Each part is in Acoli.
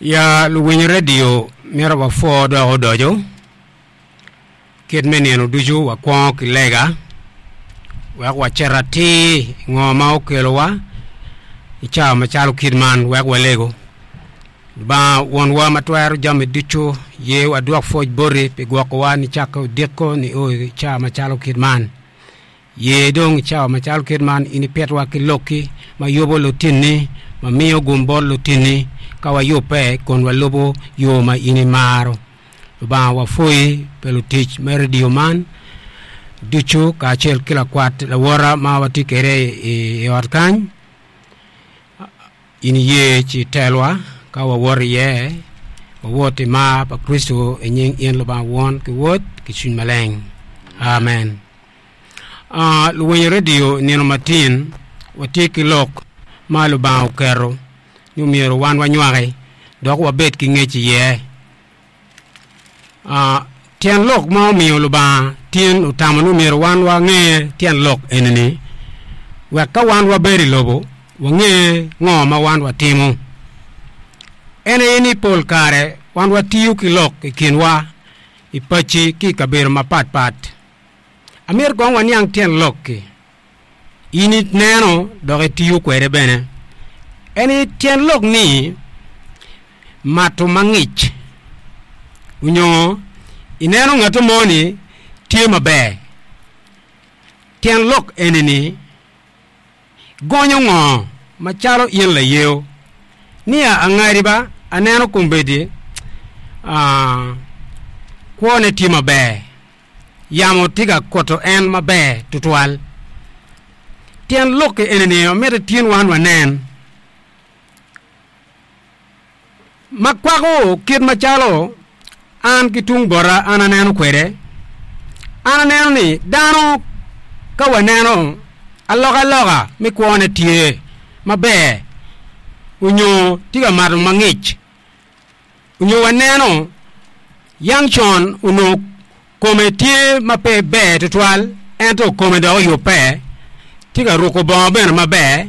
Ya luwiny redio myero wapwo dok odoco kit me nino ducu wakwongo ki lega wek wacit atir i ngo ma okelowa i cawa macalo kit man wek walego. Lubanga Wonwa ma twero jami ducu, ye wadwok pwoc boti pi gwokowa nicakke odiko nio i cawa macalo kit man. Ye dong i cawa macalo kit man in ipitwa ki lokki ma yubo lutinni, ma miyo gum bot lutinni ka wayubbe kun walubo yo ma in imaro. Lubanga wapwoyi pi lutic me redio man ducu kacel ki lakwat lawota ma watye kwede i ot kany. In iye ci itelwa ka wawoto iye, wawot i mar pa Kricito i nying in Lubanga Won ki Wod ki Cwiny Maleng. Amen. Uh, luwinyo redio i nino matin watye ki lok ma Lubanga oketo ni myero wan wanywaki dok wabed ki ngec iye. Uh, tyen lok ma omiyo Lubanga tin otamo ni myero wan wange tyen lok eni-ni wek ka wan wabedo i lobo wange ngo ma wan watimo. En aye ni pol kare wan watiyo ki lok i kinwa i paci ki i kabedo mapatpat. Amito kong waniang tyen lok-ki. In ineno dok itiyo kwede bene. En aye tyen lok ni mato mangic onyo ineno ngat mo ni tye maber. Tyen lok eni-ni Gonyo ngo macalo in layeo? Nia angadi ba aneno kombeddi kwone tye maber, yamo tye ka kuto en maber tutwal. Tyen lok-ki eni-ni amito tin wan wanen. Ma kwako kit macalo an ki tung bota an aneno kwede, an aneno ni dano ka waneno alokaloka me kwone tye maber onyo tye ka mato mangic onyo waneno yang con onongo Kome tye ma pe ber tutwal, ento kome dok oyubbe, tye ka ruko bongo bene maber,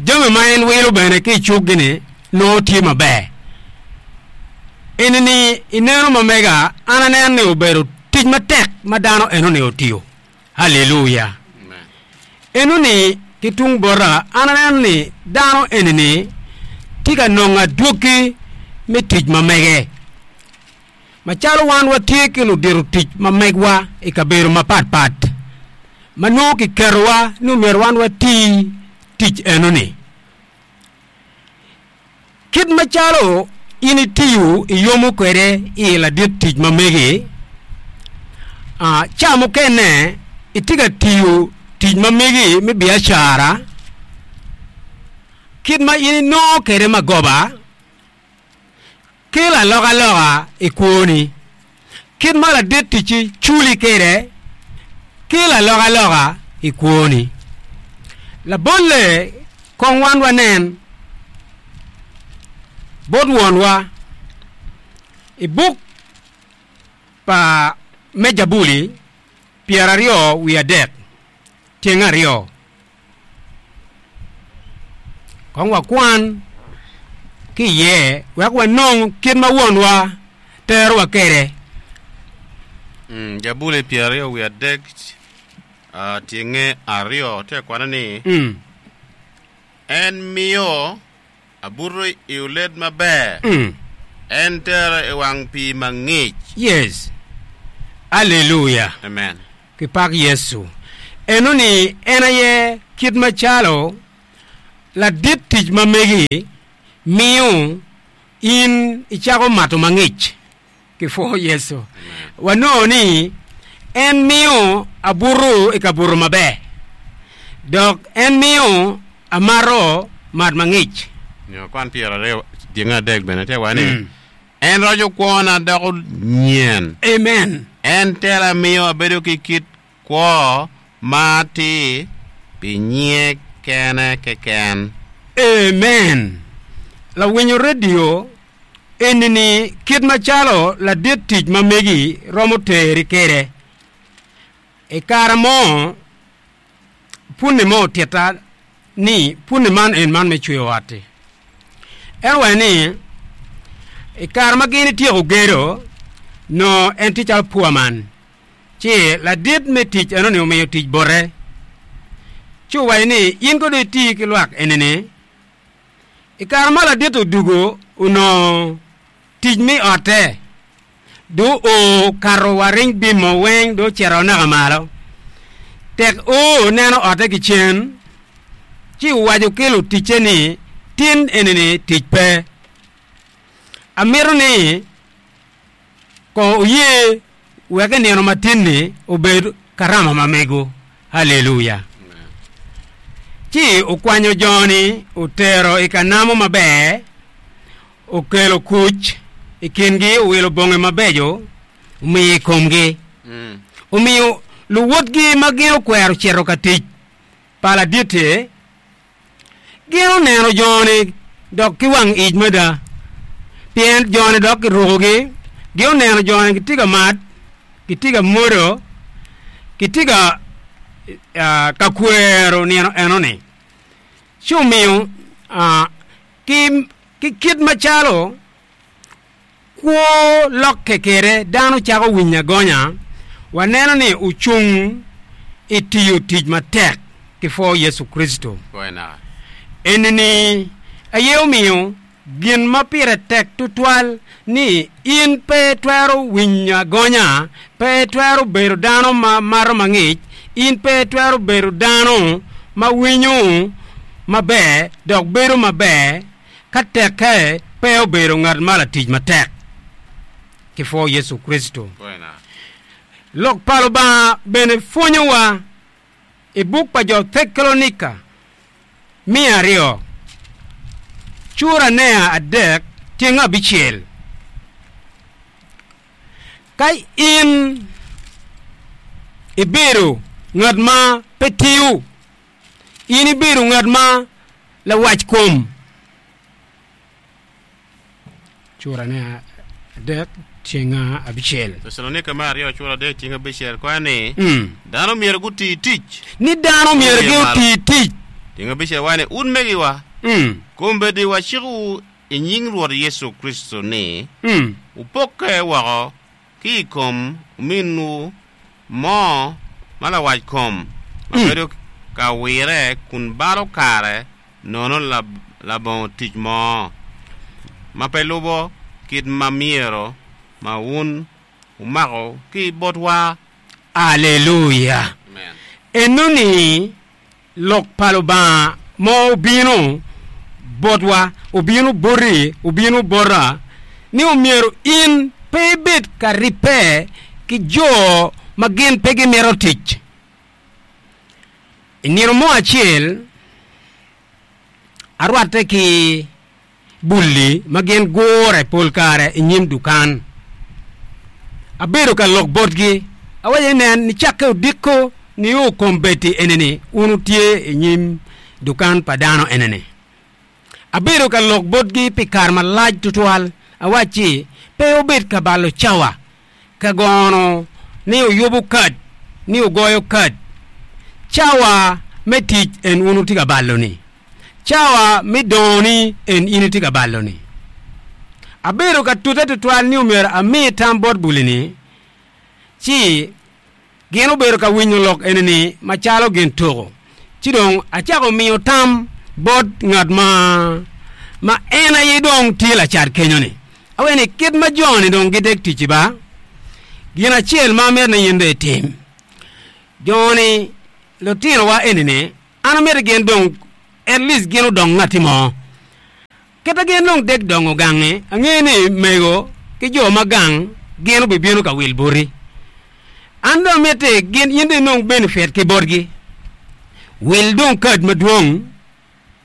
jami ma en wilo bene ki i cukgi-ni nongo tye maber. Eni-ni i neno ma mega, an aneno ni obedo tic matek ma dano eno-ni otiyo. Aleluya! Eno-ni ki tung bota, an aneno ni dano eni-ni tye ka nongo adwogi me tic ma mege. Macalo wan watye ki ludito tic ma megwa i kabedo mapatpat ma nongo kiketowa ni omyero wan wati tic enoni, kit macalo in itiyo iyomo kwede i ladit tic ma megi, ca mukene itye ka tiyo tic ma megi me biacara, kit ma in inongo kwede magoba, Kelo alokaloka i kwoni. Kit ma ladit ticci culi kwede kelo alokaloka i kwoni. Labolle, kong wan wanen bot Wonwa i buk pa me Jabuli pyeraryo wiye adek tyeng aryo. Kong wakwan ki iye wek wanong kit ma Wonwa terowa kwede. Jabuli pyeraryo wiye adek tyenge aryo tye ka kwane ni, En miyo abuto i olet maber, en tera i wang pii mangic. Yes. Aleluya! Amen. Kipak Yecu. Enoni en aye kit macalo ladit tic ma megi miyo in icako mato mangic. Kipwo Yecu. Wanongo ni en miyo abuto i kabuto maber, dok en miyo amato mat mangic. Nyo kwan pyeraryo dyenge adek bene tye wa ni, En roco kwona doko nyen. Amen. En tela miyo abedo ki kit kwo ma atir pi nyinge kene keken. Amen. Lawinyo redio eni-ni kit macalo ladit tic ma megi romo teri kwede. I kare mo, Punni mo otitta ni punni man en man me cweyo ot-ti. En owaco ni, I kare ma gin ityeko gedo, nongo en tye calo poor man, ci ladit me tic enoni omiyo tic bote, ci owaco ni, 'In kono dong iti ki lwak eni-ni. I kare ma ladit odwogo, onongo tic me otte dong oo kato wa ring bimo weng dong ocito naka malo. Tek oo neno otte ki cen, ci owaco ki luticce ni, 'Tin eni-ni tic pe. Amito ni kong wuye wek i nino matin-ni obed karama ma mego. Aleluya! Ci okwanyo jo-ni otero i ka namo maber, okelo kuc i kingi, owilo bongi mabeco omiyo i komgi. Omiyo luwotgi ma gin okwero cito ka tic pa ladit-ti, Gin oneno jo-ni dok ki wang ic mada, pien jo-ni dok kirukogi. Gin oneno jo-ni gitye ka mat, gitye ka mwodo, gitye ka ka kwero nino enoni. Ci omiyo ki kit macalo Kwo lokke kwede, dano cako winyo agonya. Waneno ni ocung i tiyo tic matek ki pwo Yecu Kricito. Eni-ni aye omiyo gin ma pire tek tutwal ni in pe itwero winyo agonya, pe itwero bedo dano ma mato mangic, in pe itwero bedo dano ma winyo maber dok bedo maber Ka tekke pe obedo ngat ma latic matek ki pwo Yecu Kricito. Lok pa Lubanga bene pwonyowa i buk pa jo Tecalonika me aryo, cura nea adek tyeng abicel. Ka in ibedo ngat ma pe tiyo, In ibedo ngat ma lawac kom. Cura ne adek tyeng abicel. Tecalonika me aryo cura adek tyeng abicel kwayo ni, Dano myero guti tic. Ni dano myero guti tic. Tyeng abicel waco ni, Utmegiwa, kombeddi wacikowu i nying Rwot Yecu Kricito ni, wupokke woko ki i kom ominwu mo ma lawackom ma bedo ka wirre kun balo kare nono labongo tic mo, ma pe lubo kit ma myero ma wun wumako ki botwa. Aleluya! Enoni Lok pa Lubanga ma obino botwa, obino boti, obino bota, ni omyero in pe ibed ka ribbe ki jo ma gin pe gimito tic. I nino mo acel, arwatte ki bulli ma gin gure pol kare i nyim dukan. Abedo ka lok botgi, awaco ni, Nen, nicakke odiko nio kombeddi eni-ni wun wutye i nyim dukan pa dano eni-ni. Abedo ka lok botgi pi kare malac twatwal, awacci, Pe wubed ka balo cawa ka gono ni wuyubo kad, ni wugoyo kad. Cawa me tic en wun wutye ka balo-ni. Cawa me dongoni en in itye ka balo-ni. Abedo ka tute tutwal ni omyero ami tam bot buli-ni, ci gin obedo ka winyo lok eni-ni macalo gin tuko. Ci dong acako miyo tam bot ngat ma ma en aye dong tye lacat kenyo-ni. Awaco ni, 'Kit ma jo-ni dong gidek ticci ba, gin acel ma amito ni in dong itim, jo-ni lutinowa eni-ni, An amito gin dong at least gin odong ngatti mo. Kit ma gin dong dek dongo gangi, angeyo ni mego ki jo ma gang gin obibino ka wil boti. An dong amiti gin in dong inong benefit ki botgi. Wil dong kad madwong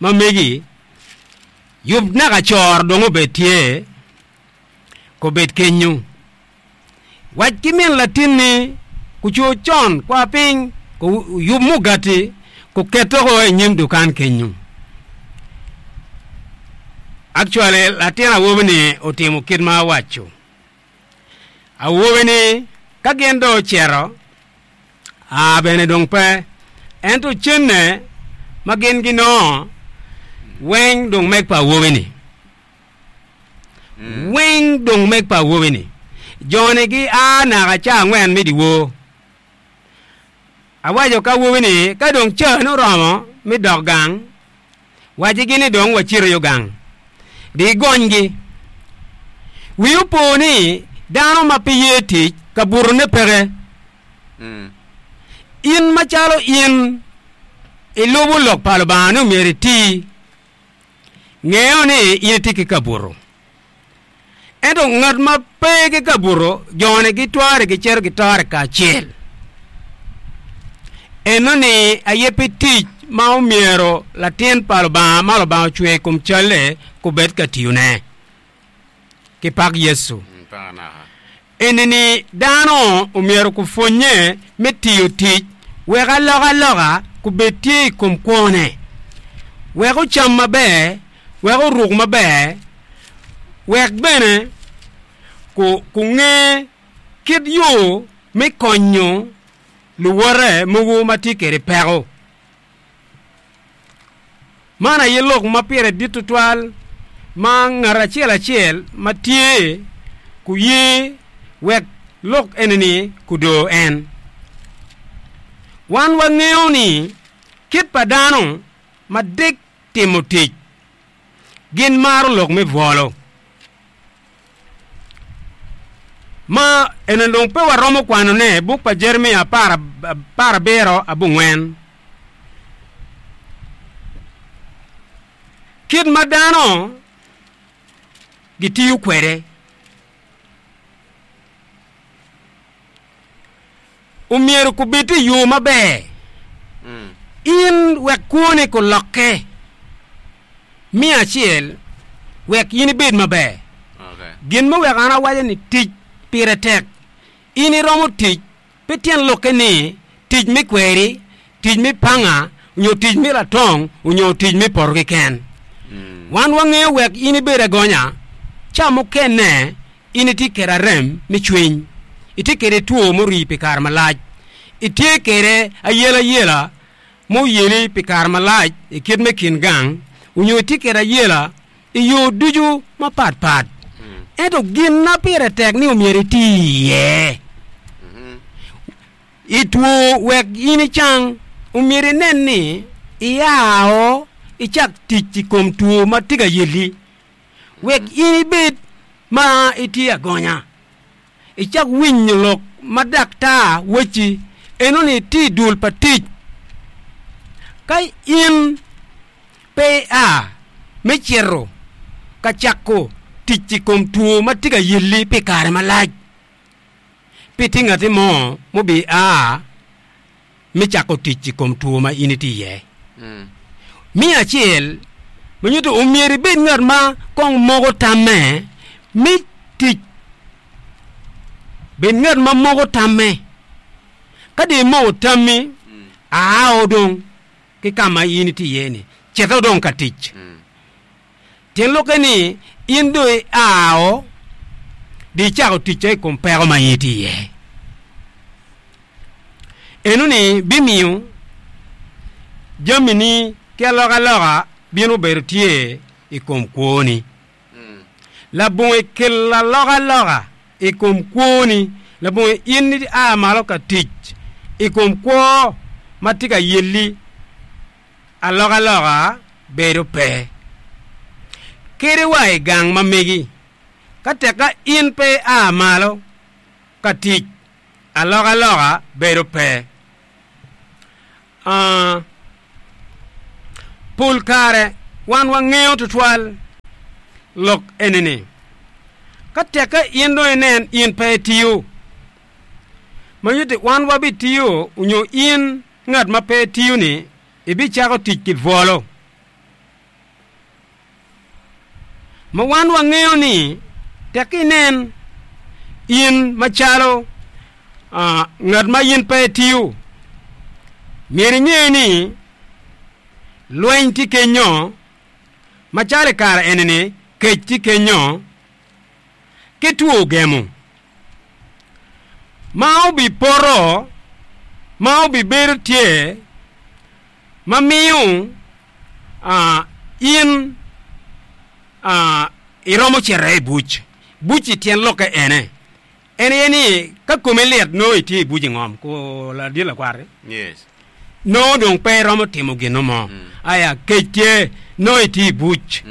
ma megi, yub naka coro dong obed tye, kobed kenyo. Wac ki min latinni kucur con kwa piny kuyub mugati kuket oko i nyim dukan kenyo. Actually latin awobi-ni otimo kit ma awaco. Awobi-ni ka gin dong ocito, aa bene dong pe, ento cenne ma gin ginongo weng dong meg pa awobi-ni. Weng dong meg pa awobi-ni. Jo-ni gia naka ca angwen me dyewor. Awaco ki awobi-ni ka dong cane oromo me dok gang, wacigi ni dong wacito yo gang. Di igonygi. Wii opo ni dano ma pe ye tic, kabutone peke. In macalo in ilubo lok pa Lubanga ni omyero iti, ngeyo ni in itye ki kabuto. Ento ngat ma pe ki kabuto, jone gitware gicito gitore kacel. Enoni aye pe tic ma omyero latin pa Lubanga ma Lubanga ocweyo i kom calle kubed ka tiyone. Ki pak Yecu. Eni-ni dano omyero gupwonnye me tiyo tic wek alokaloka gubed tye i kom kwone, wek ocam maber, wek oruk maber, wek bene gunge kit yo me konyo luwote mogo ma tye kwede peko. Man aye lok ma pire dit tutwal ma ngat acel acel ma tye kuye wek lok eni-ni kudor en. Wan wangeyo ni kit pa dano ma dek timo tic, gin maro lok me bwolo. Ma eni dong pe waromo kwanone, buk pa Jeremia aparabiro abongwen. Kit ma dano gitiyo kwede omyero kubed i yo maber. In wek kwoni kulokke miya acel wek in ibed maber. Gin ma weko an awaco ni tic pire tek, in iromo tic Pe tyen lokke ni tic me kweri, tic me panga, nyo tic me latong, onyo tic me poto keken. Wan wangeyo wek in ibed agonya, ca mukene in itye kede arem me cwiny, itye kede two murii pi kare malac, itye kede ayelayela muyeli pi kare malac i kit me kin gang, onyo itye kede ayela i yo ducu mapat pat. Ento gin ma pire tek ni omyero iti iye i two wek in icang, omyero inen ni iao icak tic i kom two ma tye ka yeli wek in ibed ma itye agonya. Icak winyo lok ma daktar wacci enoni itye i dul pa tic. Ka in pe ia me cito ka cako tic i kom two ma tye ka yelli pi kare malac, pe tye ngati mo mubia me cako tic i kom two ma in itye iye. Me acel, ma nyuto omyero ibed ngat ma kong moko tamme me tic. Bed ngat ma moko tamme. Ka dong imoko tammi, ao dong ki ka ma in itye iye-ni, cito dong ka tic. Tyen lokke ni, in dong iao dong icako ticca i kom peko ma in itye iye. Enoni bimiyo jamini ki alokaloka bino bedo tye i kom kwoni. Labongo ikelo alokaloka i kom kwoni, labongo in ia malo ka tic i kom kwo ma tye ka yelli, alokaloka bedo pe. Kadi wa i gang ma megi, ka tekka in pe ia malo ka tic, alokaloka bedo pe. A Pol kare wan wangeyo tutwal lok eni-ni. Ka tekke in dong inen in pe itiyo, ma nyutti wan wabitiyo onyo in ngat ma pe itiyo-ni ibicako tic ki bwolo. Ma wan wangeyo ni tek inen in macalo ngat ma in pe itiyo, myero inge ni lweny tye kenyo, macalo i kare eni-ni kec tye kenyo ki two gemo ma obipoto ma obibedo tye ma miyo in. Iromo cito i buc. Buc-ci tyen lokke ene, en aye ni ka komi lit nongo itye i buc i ngom ku ladit lakwat-ti, nongo dong pe iromo timo gin mo. Aya, kec tye, nongo itye i buc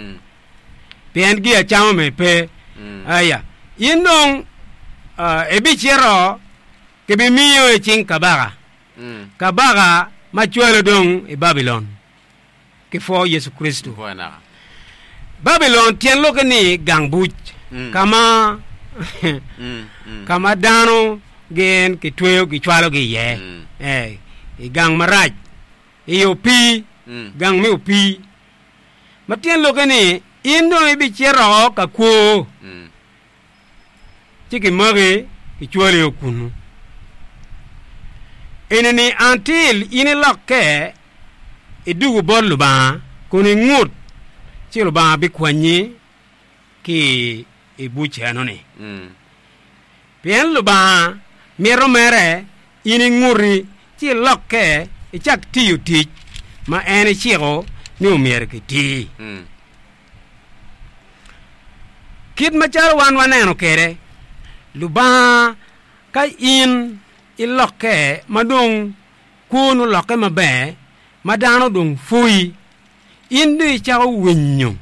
pien gi acama me pe. Aya, in dong ibicito kibimiyo i cing kabaka, kabaka ma cwalo dong i Babilon. Ki pwo Yecu Kricito. Babilon tyen lokke ni gang buc, ka ma ka ma dano gin kitweyo gicwalogi iye, ee, i gang marac, i opii, gang me opii. Ma tyen lokke ni in dong ibicito ka kwo. Ci kimaki kicwali o kunnu. Eni-ni until in ilokke idwogo bot Lubanga kun ingut ci Lubanga bikwanyi ki i buc eno-ni. Pien Lubanga mito mere in inguti ci ilokke icak tiyo tic ma en eciko ni omyero kiti. Kit macalo wan waneno kwede, Lubanga ka in ilokke ma dong kwoni olokke maber, ma dano dong pwoyi, in dong icako winyo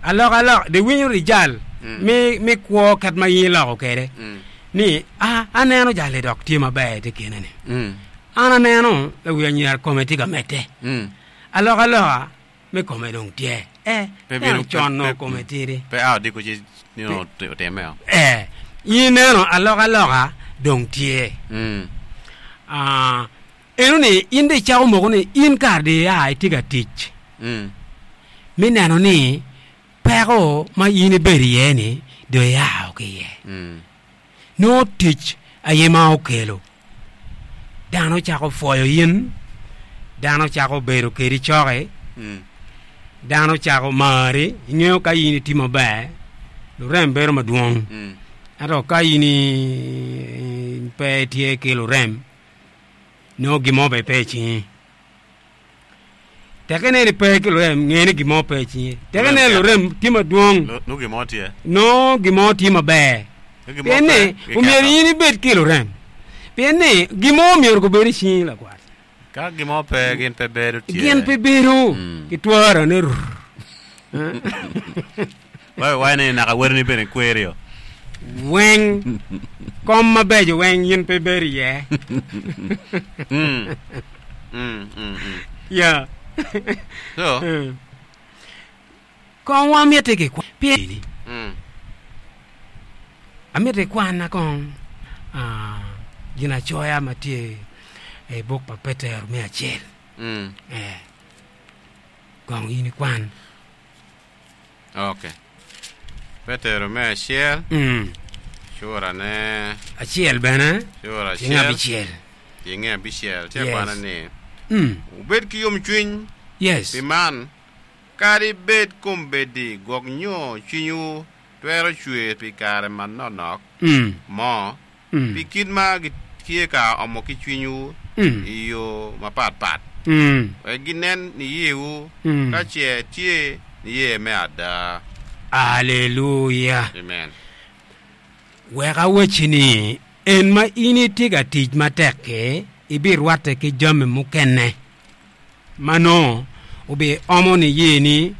alokaloka, dong iwinyo rijal me kwo kit ma in iloko kwede ni, a aneno jali dok tye maber i te kine-ni, an aneno lawi anyira kome tye ka medde, alokaloka me kome dong tye. Eh, Pe ento bino con nongo kome tidi. Pe a odiko ci nino otimme o. Eh, in ineno alokaloka dong tye. Mm. Ah, eno ni in dong icako moko ni in kare dong ia itye ka tic Mm. me neno ni peko ma in ibedo iye ni dong ia ki iye. Mm. Nongo tic aye ma okelo. Dano cako pwoyo in, dano cako bedo kedi coki, dano cako mari. Ingeyo ka in itye maber, lurem bedo madwong. Ento ka in pe itye ki lurem, nongo gin mo bene pe i cingi. Tek inen ipe ki lurem, nge ni gin mo pe i cingi. Tek inen lurem tye madwong, Nongo gin mo tye. nongo gin mo tye maber. Nongo gin mo Pien ni pe, giketo. omyero in ibed ki lurem. Pien ni gin mo myero gubed i cingi lakwat. Ka gin mo pe, gin pe bedo tye. Gin pe bedo Mm. ki twara ni rrr. Wai wai ni naka wadini bene kwerio. Weng, kom mabeco weng in pe ibedo iye. Mm. Mm, mm, mm. Yeah. So, Mm. Kong wamiti ki kwan pien mm. amiti ikwanna kong ah, ginacoya ma tye i buk pa Petero me acel. Mm. Eh. Kong in ikwan. Ok. Petero me acel, Mm. curane, Acel bene, cura tyeng acel, abicel. tyenge abicel. Tye Yes. kwana ni, Mm. Wubed ki yomcwiny Yes. pi man, kadi bed kombeddi gwok nyo cwinywu twero cwer pi kare manoknok Mm. mo, Mm. pi kit ma gitye ka omo ki cwinywu Mm. i yo mapatpat, Mm. wek ginen niyewu Mm. ka ce tye niye me ada. Aleluya! Amen. Wek awacci ni, en ma in itye ka tic matek-ki, ibirwatte ki jami mukene ma nongo obiomo niyeni.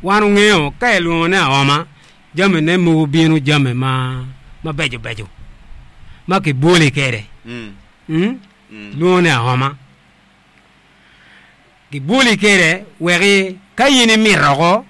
Wan wungeyo, ka ilwongo ni aoma, Jamine mogo bino jami ma mabeco beco ma kibwoli kwede. Lwongo ni aoma. Kibwoli kwede wek ka in imito oko.